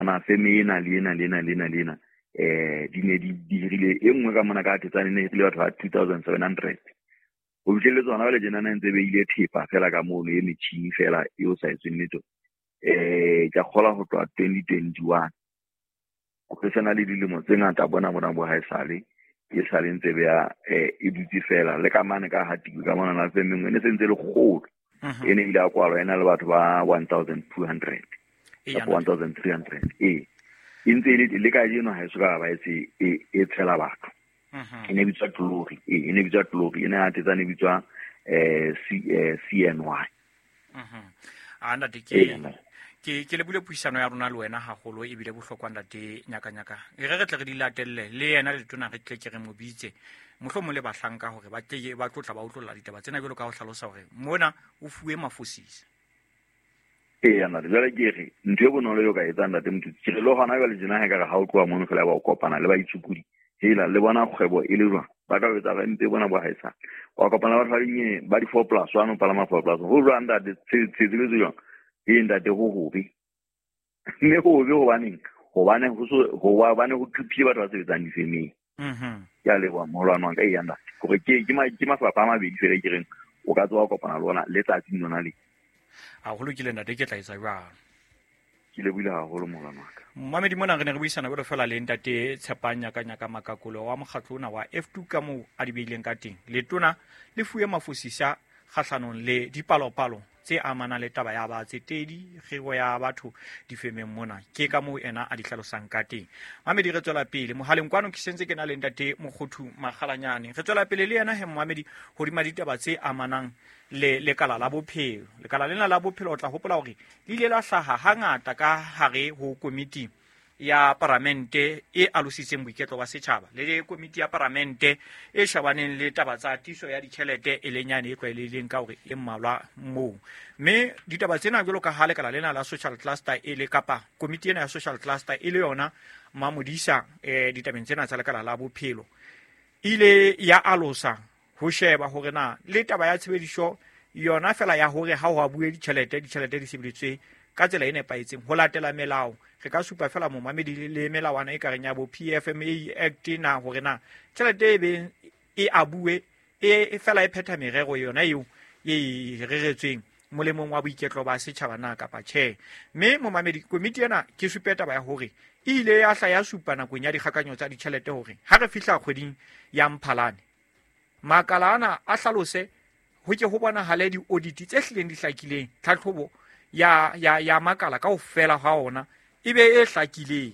Na feme ena le ena le ena le ena le ena di ne di dirile e nngwe ka mona ka Thetsane, ne hirile batho ba 2700. Ho fihlelletse hona jwale tjena na ntse beile thepa fela ka mono, e metjhini fela e o sa etsweng letho. Ke a kgolwa ho tloha 2021 ho sena le dilemo tse ngata bona bona bo haesale e sale ntse beya e dutse fela le ka mane ka hatikwe ka mona na feme nngwe e ne se ntse le kgolo. E ne ile a kwalwa e na le batho ba 1200 kapa 1300. Ee, e ntse e le kajeno ha e soka ba etse e tshela batho. E ne bitswa Glory. Ee, e ne bitswa Glory. E ne Thetsane e bitswa CNY. A ntate, ke lebule puisano ya rona le wena haholo, ebile bohlokwa ntate Nyakanyaka. E re tle re di latelle le yena letona, re tle ke re mo bitse mohlomong le bahlanka hore ba tle ba tlotla ba utlwella ditaba tsena jwalo ka ho hlalosa hore mona o fuwe mafosisa. Ee, ntate, jwale ke re ntho e bonolo eo ka etsang ntate Mothusi, ke re le hona jwale tjena ha ekare ha o tloha mono fela ba o kopana le baitsukudi, hela le bona kgwebo e le jwang, ba tla o etsa re mpe bona bo haesale. Wa kopana le batho ba dinyene ba di-4 plus one, o palama 4 plus, ho jwang ntate, tshebetso jwang? Ee ntate, ho hobe. Mme ho hobe hobaneng? Hobane ho so hobane ho thuphile batho ba sebetsang difemeng. Ke a leboha moholwane wa ka. Eya ntate, hore ke mafapha a mabedi fela ke reng o ka tsoha kopana le ona letsatsing lona le. A ho lokile ntate, ke tla etsa jwalo. Ke lebohile haholo moholwane wa ka. Mmamedi, mona re ne re buisana jwalo fela le ntate Tshepang Nyakanyaka Makakolo wa mokgatlo ona wa F2 ka moo a di beileng ka teng. Letona le fuwe mafosisa kgahlanong le dipalopalo tse amanang le taba ya batsetedi, kgiro ya batho difemeng mona. Ke ka moo ena a di hlalosang ka teng. Mamedi, re tswela pele mohaleng kwano, ke sentse ke na le ntate Mokgothu Makgalanyane. Re tswela pele le yena he momamedi hodima ditaba tse amanang le lekala la bophelo. Lekala lena la bophelo o tla hopola hore le ile la hlaha hangata ka hare ho komiti ya paramente e alositseng boiketlo ba setjhaba le komiti ya paramente e shabaneng le taba tsa tiso ya ditjhelete, e leng yane e tlwaelehileng ka hore e mmalwa moo. Mme ditaba tsena jwalo ka ha lekala lena la social cluster e le kapa komiti ena ya social cluster e le yona mamodisa ditabeng tsena tsa lekala la bophelo, ile ya alosa ho sheba hore na le taba ya tshebediso yona fela ya hore ha ho abuwe ditjhelete, ditjhelete di sebeditswe ka tsela e nepahetseng ho latela melao. Re ka supa fela momamedi le melawana e kareng ya bo PFMA Act na hore na tjhelete e beng e abuwe e fela e phetha merero yona eo e reretsweng molemong wa boiketlo ba setjhaba na kapa tjhe. Mme momamedi, komiti ena ke supe taba ya hore e ile ya hla ya supa nakong ya dikgakanyo tsa ditjhelete hore ha re fihla kgweding ya Mphalane, makala ana a hlalose ho ke ho bonahale di-audit tse hlileng di hlakileng, tlhatlhobo ya makala kaofela ha ona e be e hlakileng,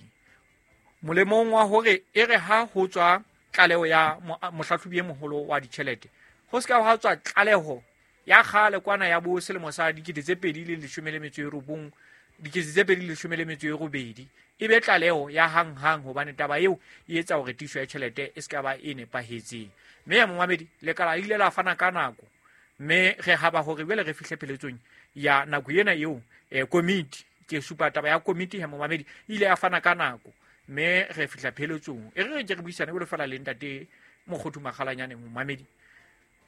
molemong wa hore e re ha ho tswa tlaleho ya mohlahlobi e moholo wa ditjhelete, ho se ka ha tswa tlaleho ya kgale kwana ya bo selemo sa 2019, 2018, e be tlaleho ya hanghang, hobane taba eo e etsa hore tiiso ya tjhelete e se ka ba e nepahetseng. Mme ya momamedi, lekala le ile la fana ka nako, mme re haba hore jwale re fihle pheletsong ya nako ena eo. Komiti, ke supa taba ya komiti ya momamedi, e ile ya fana ka nako, mme re fihla pheletsong. E re re ke re buisane jwalo fela le ntate Mokgothu Makgalanyane. Momamedi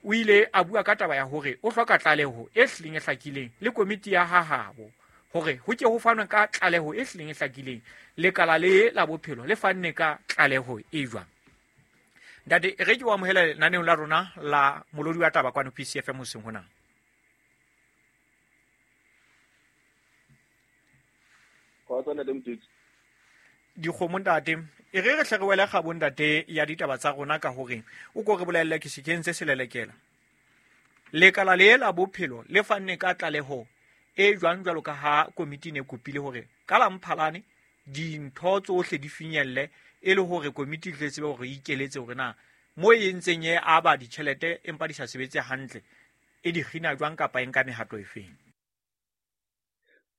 o ile a bua ka taba ya hore o hloka tlaleho e hlileng e hlakileng le komiti ya hahabo hore ho ke ho fanwe ka tlaleho e hlileng e hlakileng, lekala le la bophelo le fanne ka tlaleho e jwang. Ntate, re ke o amohele lenaneong la rona la Molodi wa Taba kwano PCFM hoseng hona. Dikgomo ntate, e re re hle re wele kgabo ntate ya ditaba tsa rona ka hore o ko re bolelle ke se kentse selelekela. Lekala le la bophelo le fanne ka tlaleho e jwang jwalo ka ha komiti ne kopile hore ka la Mphalane dintho tsohle di finyelle, e le hore komiti e tle tsebe hore e ikeletse hore na mo e ntseng e aba ditjhelete empa di sa sebetse hantle e di kgina jwang kapa e nka mehato e feng?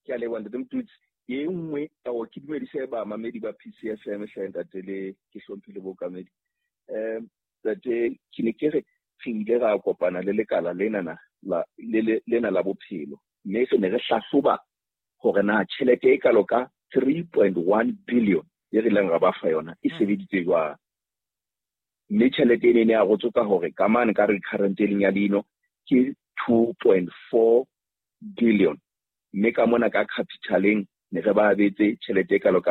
Ke a leboha ntate Motutsi. E nngwe o ke dumedise bamamedi ba PCFM hle ntate, le ke hlomphile bookamedi. Ntate, ke ne ke re re ile ra kopana le lekala lena la lena la bophelo, mme re ne re hlahloba hore na tjhelete e kalo ka 3.1 billion e re ileng ra ba fa yona e sebeditse jwang. Mme tjhelete ene e ne arotswe ka hore ka mane ka recurrent e leng ya leino ke 2.4 billion, mme ka mona ka capitaleng ne re ba abetse tjhelete e kalo ka